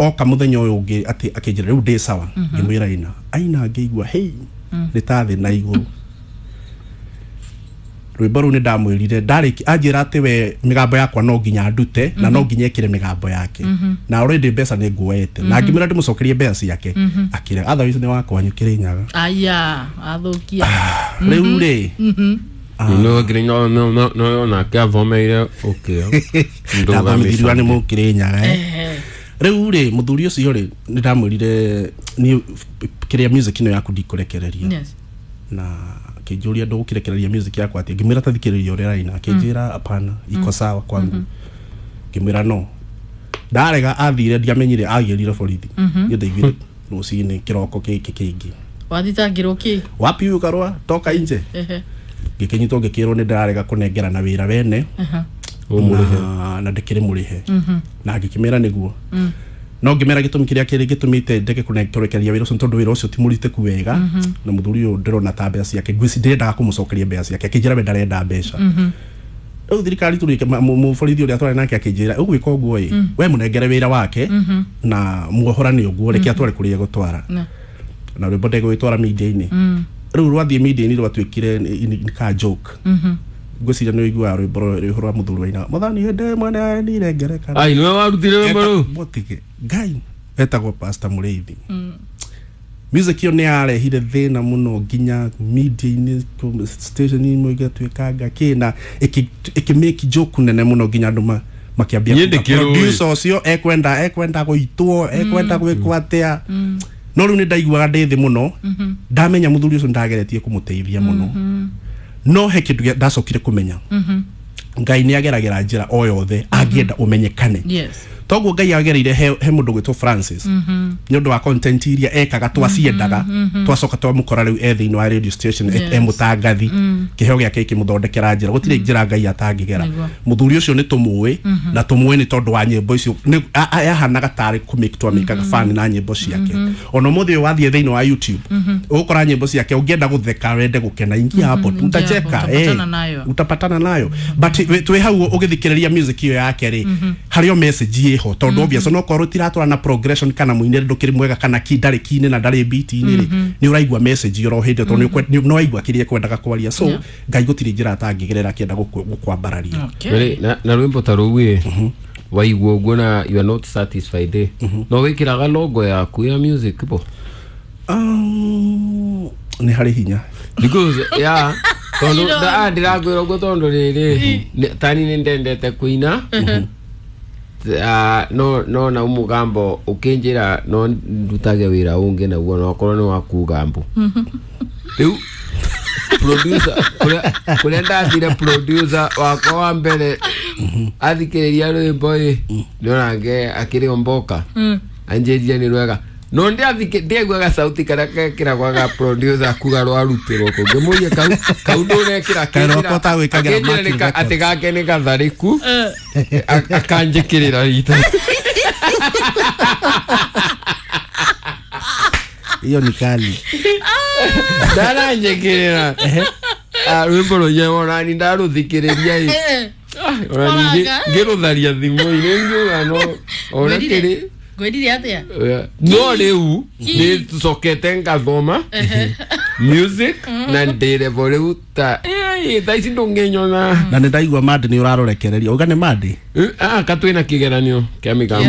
Oka muthenya uyu ungi ati akinjira riu ndi sawa, ngimwira ina aina, ngĩigua hey, nĩ ta thĩ na igũrũ. Rwĩmbo rũu nĩ ndamwĩrire ndarĩki anjĩra atĩ we mĩgambo yakwa no nginya ndute na no nginya ĩkĩre mĩgambo yake, na already mbeca nĩ nguoete, na ngĩmwĩra ndĩmũcokerie mbeca ciake, akĩra otherwise nĩ wakwa Kĩrĩnyaga. Aya, athũkia. Rĩu rĩ, No no no no nake athomeire ũkĩa. Ndathomithirio nĩ Mũkĩrĩnyaga, eh. Rĩu rĩ, mũthuri ũcio rĩ, nĩ ndamwĩrire niĩ kĩrĩa music ĩno yaku ndikũrekereria. Na akĩnjũria, ndũgũkĩrekereria music yakwa atĩ? Ngĩmwĩra tathikĩrĩria ũrĩa raina. Akĩnjĩra, "Hapana, iko sawa kwangu." Ngĩmwĩra no ndarega. Athire, ndiamenyire agĩrire borithi. Niĩ ndaiguire rũcinĩ kĩroko gĩkĩ kĩngĩ. Wathitangĩrwo kĩ? "Wapi huyu Karua? Toka nje." Ngĩkĩnyitwo, ngĩkĩrwo nĩ ndĩrarega kũnengerana wĩra wene na ndĩkĩrĩ mũrĩhe, na ngĩkĩmĩra nĩguo no ngĩmera gĩtũmi kĩrĩa kĩrĩ gĩtũmĩte ndege kũrekereria wĩra ũcio nĩ tondũ wĩra ũcio ti mũritĩku wega, na mũthuri ũyũ ndĩrona ta mbeca ciake ngwĩci ndĩrendaga kũmũcokeria mbeca ciake. Akĩnjĩra we ndarenda mbeca. Rĩu thirikari tũrĩke mũborithi ũrĩa twarĩ nake akĩnjĩra, ũgwĩka ũguo ĩ, we mũnengere wĩra wake na muohorane ũguo, reke atware kũrĩa egũtwara. Na rwĩmbo ndegũgĩtwara media-inĩ. Rĩu rwathiĩ media-inĩ, rwatuĩkire nĩ ka joke. Ngwĩciria nĩ ũiguaga rwĩmbo rũhoro rwa mũthuri waina "Mwathani hĩndĩ ĩmwe nĩ ngerekano". Ai, nĩwe warutire rwĩmbo rũu? Mũtige Ngai, etagwo Pastor Mũrĩithi. Music ĩyo nĩ yarehire thĩna mũno nginya media-inĩ, station imwe igatuĩkanga kĩ na ĩkĩ make joke nene mũno nginya andũ makĩambia Niĩ kuga, ndĩkĩrũĩ. producer ũcio ekwenda gũitwo, ekwenda gwĩkwo atĩa. No rĩu nĩ ndaiguaga ndĩ thĩ mũno, ndamenya mũthuri ũcio ndageretie kũmũteithia mũno, no he kĩndũ ndacokire kũmenya, Ngai nĩ ageragĩra njĩra o yothe angĩenda ũmenyekane. Toguo Ngai agereire he mũndũ gwĩtwo Francis nĩ ũndũ wa content iria ekaga twaciendaga, twacoka twamũkora rĩu e thĩinĩ wa radio station, e mũtangathi. Kĩheo gĩake gĩkĩmũthondekera njĩra. Gũtirĩ njĩra Ngai atangĩgera. Mũthuri ũcio nĩ tũmũĩ, na tũmũĩ nĩ tondũ wa nyĩmbo icio. Yahanaga tarĩ kũmake twamĩkaga fan na nyĩmbo ciake. Ona ũmũthĩ ũyũ wathiĩ thĩinĩ wa YouTube, ũgũkora nyĩmbo ciake. Ũngĩenda gũtheka, wende gũkena, ingia hapo tu, utacheka. Utapatana nayo. Utapatana nayo. But twĩ hau ũgĩthikĩrĩria music ĩyo yake rĩ, harĩ o message ĩho, tondũ obvious onokorwo tiratwara na progression kana mũinĩre ndũkĩrĩ mwega kana ki ndarĩ ki-inĩ na ndarĩ beat-inĩ rĩ, nĩ ũraigua message ĩyo oro hĩndĩ ĩyo, tondũ nĩ waigua kĩrĩa ekwendaga kwaria. So Ngai gũtirĩ njĩra atangĩgerera akĩenda gũkwambararia. Na rwĩmbo ta rũu ĩ, waigua ũguo na you are not satisfied ĩ, no wĩkĩraga logo yaku ya music bo? Nĩ harĩ hinya. Because yeah, tondũ ndĩrakwĩra ũguo tondũ rĩrĩ, tani nĩ ndendete kũina. Ah, no na mũgambo ũkĩnjĩra no ndutage wĩra ũngĩ naguo, no okorwo nĩ wa kuga mbu. Rĩu producer kũrĩa ndathire, producer wakwa wa mbere athikĩrĩria rwĩmbo ĩ, nĩonake akĩrĩ o mboka, anjĩrire nĩ rwega, no ndiaiguaga sauti karĩa gekĩragwo ga producer kuga rwarutĩrwo kũ. Ngĩmũria kau ndũrekĩra? Kaĩ rwakwa ũtagwĩkagĩra Akĩnjĩra Mercury Records. Atĩ gake nĩ gatharĩku, akanjĩkĩrĩra rita. Hiyo ni kali. Ndaranjĩkĩrĩra. Ah, rwĩmbo rũnye onani ndarũthikĩrĩria ĩ. Ona ningĩ Oranga. ngĩrũtharia thimũ-inĩ, ngiuga no ona kĩrĩ. Ngwĩrire atĩa? No rĩu nĩ tũcokete ngathoma music na ndĩrevo rĩu ta thaa ici ndũngĩnyona. Na nĩ ndaigua Mandi nĩ ũrarorekereria, uga nĩ Mandi. Katwĩna kĩgeranio kĩa mĩgambo.